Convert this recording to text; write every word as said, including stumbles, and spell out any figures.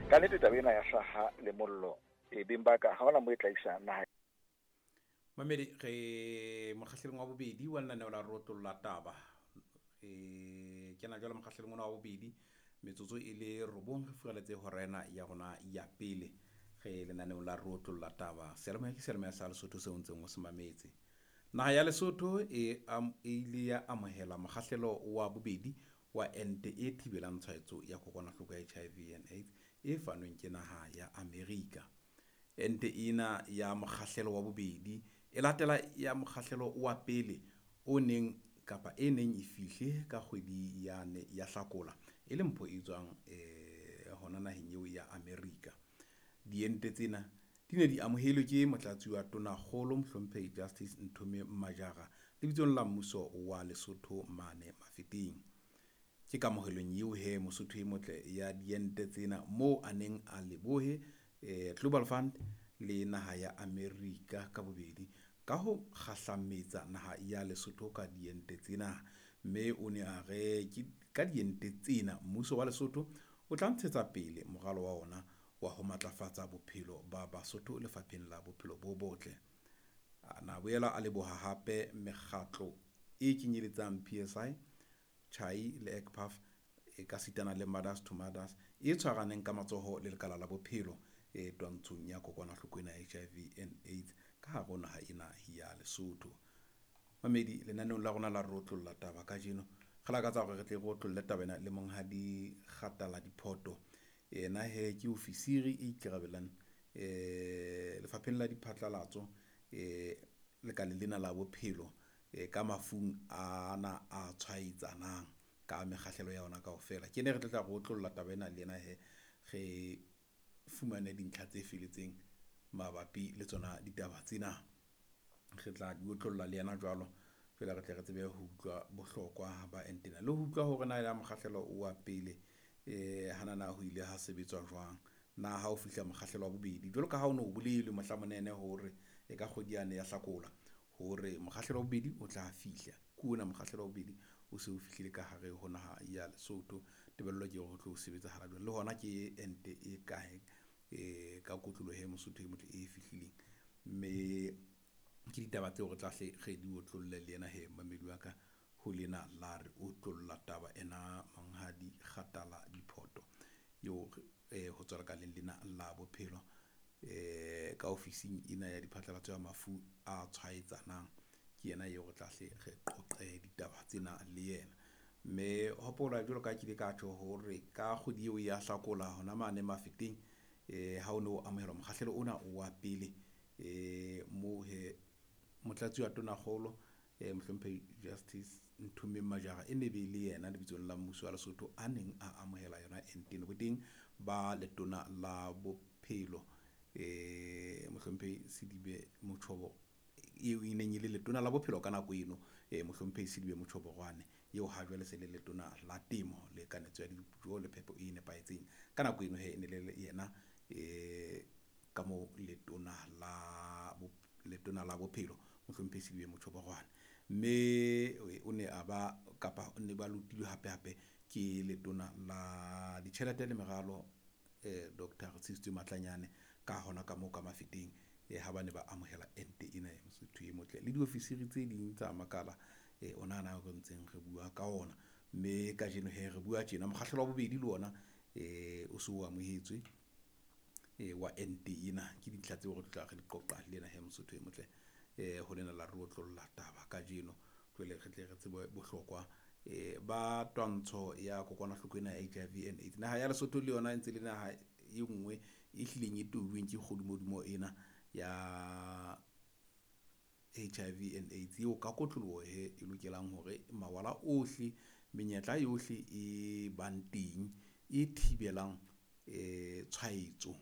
Ka nnete taba ena ya hlaha le mollo e beng ba ka ha hona moo e tla isa naha. Mamedi re mokgahlelong wa bobedi wa lenaneo la Rotlolla Taba. E kena jwale mokgahlelong ona wa bobedi metsotso e le robong re furaletse hora ena ya rona ya pele. Re lenaneong la Rotlolla Taba. Seyalemoya ke seyalemoya sa Lesotho seo ntseng o se mametse. Naha ya Lesotho e am, e ile ya amohela mokgahlelo wa bobedi wa ente e thibelang tshwaetso ya kokwanahloko ya H I V and AIDS e fanweng ke naha ya Amerika. Ente ena ya mokgahlelo wa bobedi e latela ya mokgahlelo wa pele o neng kapa e neng e fihle ka kgwedi ya ne ya Hlakola e le mpho e tswang eh hona naheng eo ya Amerika. Diente tsena di ne di amohelwe ke motlatsi wa Tonakgolo Mohlomphehi Justice Nthomeng Majara lebitsong la mmuso wa Lesotho mane Mafeteng. Ke kamohelong eo he Mosotho e motle ya diente tsena moo a neng a lebohe eh Global Fund le naha ya Amerika ka bobedi ka ho kgahlametsa naha ya Lesotho ka diente tsena. Mme o ne a re ke ka diente tsena mmuso wa Lesotho o tla ntshetsa pele moralo wa ona wa ho matlafatsa bophelo ba Basotho lefapheng la bophelo bo botle. A na boela a leboha hape mekgatlo e kenyeletsang P S I, CHAI le E C P A F e ka sitana le Mothers to Mothers e tshwaraneng ka matsoho le lekala la bophelo e twantshong ya kokwanahloko ena ya H I V and AIDS ka hare ho naha ena ya Lesotho. Mamedi lenaneong la rona la Rotlolla Taba kajeno re lakatsa hore re tle re otlolle taba ena le monghadi Kgatala Diphoto. Yena he ke ofisiri e ikarabellang eh lefapheng la diphatlalatso eh lekaleng lena la bophelo eh ka mafung ana a tshwaetsanang ka mekgahlelo ya ona kaofela. Ke ne re tla tla re otlolla taba ena le yena he re fumane dintlha tse feletseng mabapi le tsona ditaba tsena. Re tla di otlolla le yena jwalo fela re tle re tsebe ho utlwa bohlokwa ba ente ena le ho utlwa hore na ya mokgahlelo wa pele eh hana na ho ile ha sebetswa jwang, na ha o fihla mokgahlelo wa bobedi jwalo ka ha o no bolelwe mohla monene hore e ka kgwedi yane ya Hlakola hore mokgahlelo wa bobedi o tla fihla. Ke ona mokgahlelo wa bobedi o se o fihlile ka hare ho naha ya Lesotho. Tebello ke hore ho tlo sebetsahala jwang, le hona ke ente e kae eh ka kotloloho e Mosotho e motle e fihlileng. Mme ke ditaba tseo re tla hle re di otlolle le yena he mamedi wa ka ho lena la re otlolla taba ena monghadi Kgatala Diphoto eo eh ho tswa lekaleng lena la bophelo eh ka ofising ena ya diphatlalatso ya mafu a tshwaetsanang. Ke yena eo re tla hle re qoqe ditaba tsena le yena. Mme hopola jwalo ka ke ile ka tjho hore ka kgwedi eo ya Hlakola hona mane Mafeteng eh ha o no amohelwa mokgahlelo ona wa pele eh moo he motlatsi wa Tonakgolo eh Mohlomphehi Justice Nthomeng Majara e ne be le yena lebitsong la mmuso wa Lesotho a neng a amohela yona ente ena. Boteng ba letona la bophelo eh Mohlomphehi Sedibe Motjhobo eo e neng e le letona la bophelo ka nako eno eh Mohlomphehi Sedibe Motjhoborwane eo ha jwale se le letona la temo le kanetso ya dijo le phepo e nepahetseng. Ka nako eno he e ne le yena eh ka mo letona la letona la bophelo Mohlomphehi Sedibe Motjhoborwane. Mme o ne a ba kapa o ne ba lotilwe hape hape ke letona la ditjhelete le meralo eh Doctor Retshiditswe Matlanyane ka hona ka moo ka Mafeteng eh ha ba ne ba amohela ente ena ya Mosotho e motle le diofisiri tse ding tsa makala eh ona ana re ntseng re bua ka ona. Mme kajeno he re bua tjena mokgahlelo wa bobedi le ona eh o se o amohetswe eh wa ente ena. Ke dintlha tseo re tla re di qoqa le ena he Mosotho e motle eh ho lena la re otlolla taba kajeno jwale re tle re tsebe bohlokwa eh ba twantsho ya kokwanahloko ena ya H I V and AIDS. Naha ya Lesotho le yona e ntse le naha e nngwe e hlileng e tobilweng ke kgodimodimo ena ya H I V and AIDS eo ka kotloloho he e lokelang hore mawala ohle menyetla yohle e bang teng e thibelang eh tshwaetso